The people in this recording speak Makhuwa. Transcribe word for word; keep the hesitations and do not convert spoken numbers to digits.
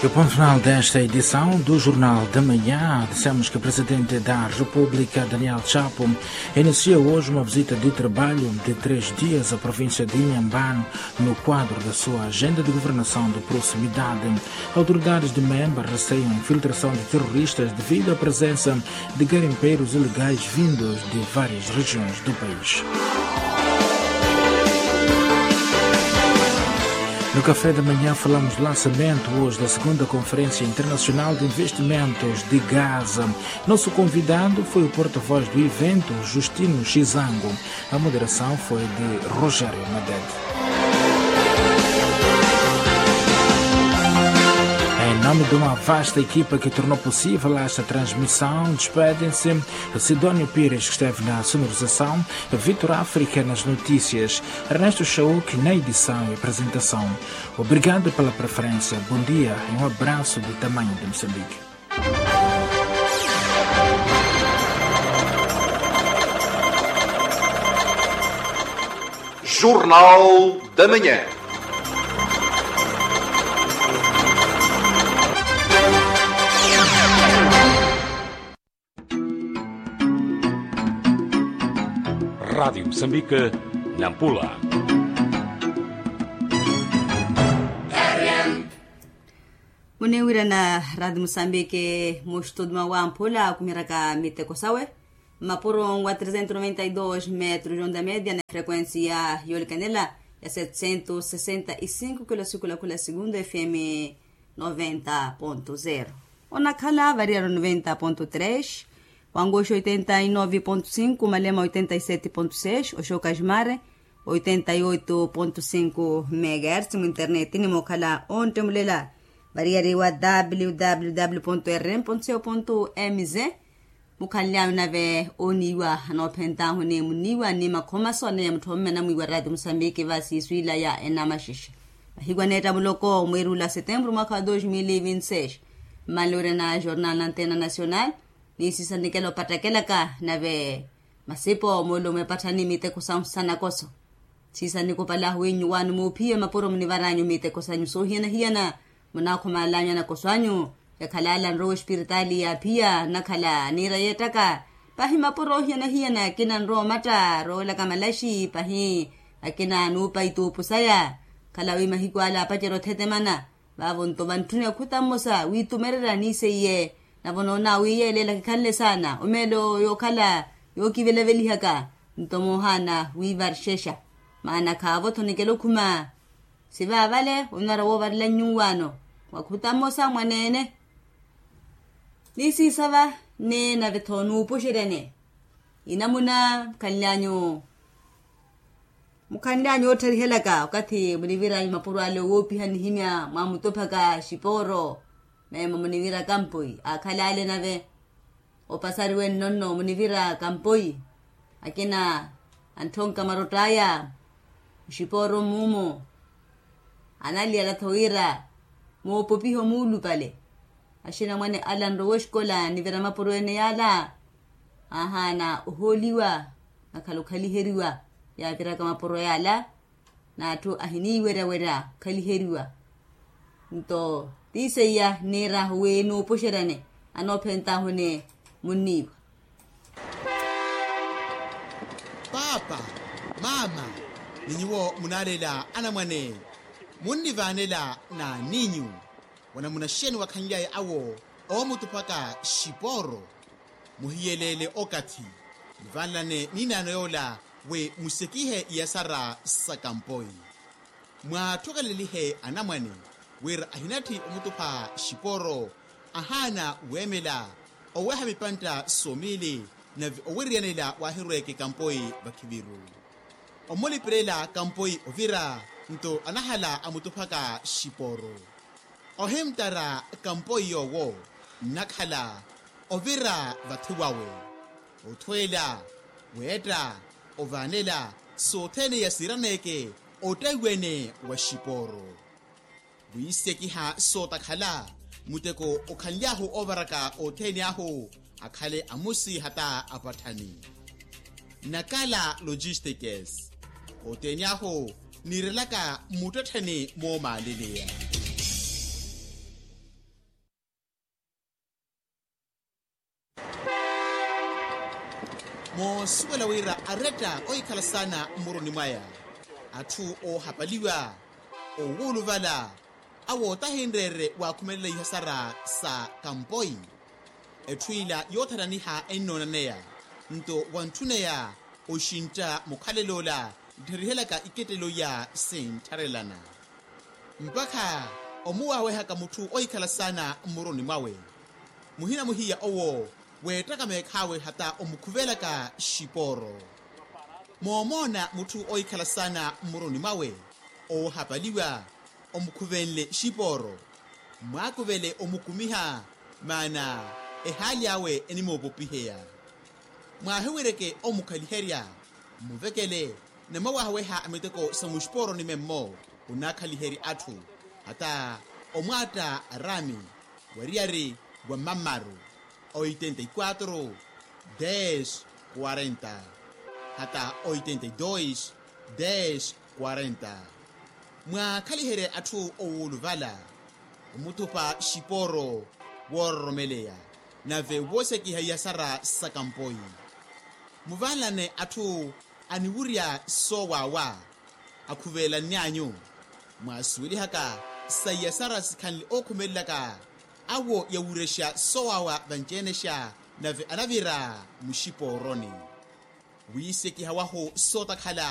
E ponto final desta edição do Jornal da Manhã, dissemos que o Presidente da República, Daniel Chapo, inicia hoje uma visita de trabalho de três dias à província de Inhambane, no quadro da sua agenda de governação de proximidade. Autoridades de Memba receiam infiltração de terroristas devido à presença de garimpeiros ilegais vindos de várias regiões do país. No Café da Manhã falamos do lançamento hoje da segunda Conferência Internacional de Investimentos de Gaza. Nosso convidado foi o porta-voz do evento, Justino Chizango. A moderação foi de Rogério Madeira. Em nome de uma vasta equipa que tornou possível esta transmissão, despedem-se Sidónio Pires, que esteve na sonorização, Vitor África nas notícias, Ernesto Chauk na edição e apresentação. Obrigado pela preferência, bom dia e um abraço do tamanho de Moçambique. Jornal da Manhã. Rádio Moçambique, Nampula. Muniwirana Rádio Moçambique, mu estúdio mwa Wamphula, akumiraka miteko sawe. Mapuro wa trezentos e noventa e dois metros de onda média, na frequência yolikanela ya setecentos e sessenta e cinco kilo sikula kula segundo, F M noventa ponto zero. Onakhala variaro noventa ponto três, Wangoxi oitenta e nove ponto cinco, Malema oitenta e sete ponto seis, Oxoka Jumare oitenta e oito ponto cinco megahertz, mu internet ni mokhala onttemulela variyari wa www ponto rm ponto co ponto mz. Mukhanly'anyu nave oniiwa anoophentahuni muniiwa ni makhomaso aneya mutthomme anamwiiwa raati musambiki va siiswiila ya enamaxixa. Mahiku aneetta muloko mwiirula setempuru mwakha wa dos mil e vinti seis, mmalowirana jornal na antena nacional. Ni siisa nikela opattakelaka nave masipo moolumo epatthani miteko sahu sanakoso. Siisa nikupala ahuwinyu waanu muuphiye mapuro munivaranyu miteko sanyu soohiyana-hiyana. Munaakhumalanyu anakoso anyu. Yakhalala nrowa espiritaali yaaphiya nnakhala niira yeettaka. Pahi mapuro oohiyana-hiyana akina nrowa omatta roolaka malaxi pahi akina nuupa ituupu saya. Khala wi mahiku ala apacerya othetemana. Vaavo nto vantthuni akhuta mmosa wiitumererya niiseiye. Navo noona wi yeeleela kikhanle saana omeelo yookhala yookivelavelihaka. Nto moohaana wiivarxexa maana khaavo-tho nikela okhuma. Sivaavale onwara woovarela nyuwaano mwakhuta mmosa mwaneene. Ni siisava ni nave-tho nuupuxeryane inamuna mukhanlyanyu. Mukhanlyanyu oottarihelaka okathi muniviranyu mapuro ale owoopiha nihimya mwamutuphaka xipooro. Meemo munivira kampoi aakhala ale nave opasariwe nnonno munivira kampoi. Akina antthonka marott'aya muxipooro mmuumo. Analiyala-tho wira moopopiha omuulupale. Axinamwane ala nrowa exikola nivira mapuro ene yaala. Aahaana ohooliwa nakhala okhaliheriwa yaaviraka mapuro yaala. N'atthu ahiniiwerya-werya okhaliheriwa. Nto ti seiya niir'ahu wi nuupuxeryane anoophent'ahuni munniiwa. Paapa, maama, ni nyuwo munaalela anamwane munnivaanela n'aninyu. Wanamuna xeeni wakhanlyaye awo oomutuphaka xipooro? Muhiyeleele okathi nivanlane niinaano yoola wi musekihe iyasara sa kampoi. Mwaattukelelihe anamwane wira ahinatthi omutupha xipooro. Ahaana weemela oweha mipantta somiili nave owiriyanela waahirweeke kampoi vakhiviru. Omulipirela kampoi ovira nto anahala amutuphaka xipooro. Ohimttara kampoi yoowo nnakhala ovira vathi wawe othweela weetta ovaanela sothene yasiiraneeke ottawiwene wa xipooro. Wiisekiha sootakhala muteko okhanly'ahu oovaraka othene ahu akhale amusi hata apatthani. Nakala logistikes othene ahu niirelaka muttettheni moomaaleleya. Moosuwela wira aretta ohikhala saana mmuruni mwaya, atthu oohapaliwa, oowuluvala, awo tahinreerye waakhumelela ihasara sa kampoi. Etthu ila yoothananiha ennoonanneya, nto wantthuneya oxintta mukhalel'ola, nttherihelyaka ikettelo iya sinttharelana. Mpakha omuwaawehaka mutthu ohikhala saana mmuruni mwawe, muhina muhiya owo weettaka meekh'awe hata omukhuvelaka xipooro. Moomoona mutthu ohikhala saana mmuruni mwawe, oohapaliwa, omukhuvenle xipooro, mwaakuvele omukumiha, maana ehaali awe enimoopopiheya. Mwaahiwereke omukhaliherya, mmuvekele, namwawaahaweha a miteko sa muxipooroni memmo, onaakhaliherya atthu, hata omwaatta araami, wariyari wa mammaru, oitenta y quatro, des, quarenta, hata oitenta y dos, des, quarenta. Mwaakhaliherye atthu owuluvala, omuthupa xipooro, woororomeleya, nave woosekiha iyasara sa kampoi. Muvanlane atthu aniwurya soowaawa, akhuvelanny'anyu. Mwaasuwelihaka sa iyasara sikhanle ookhumelelaka, awo yawurexa soowaawa vanci-enexa, nave anavira muxipooroni. Wiisekiha wahu sootakhala,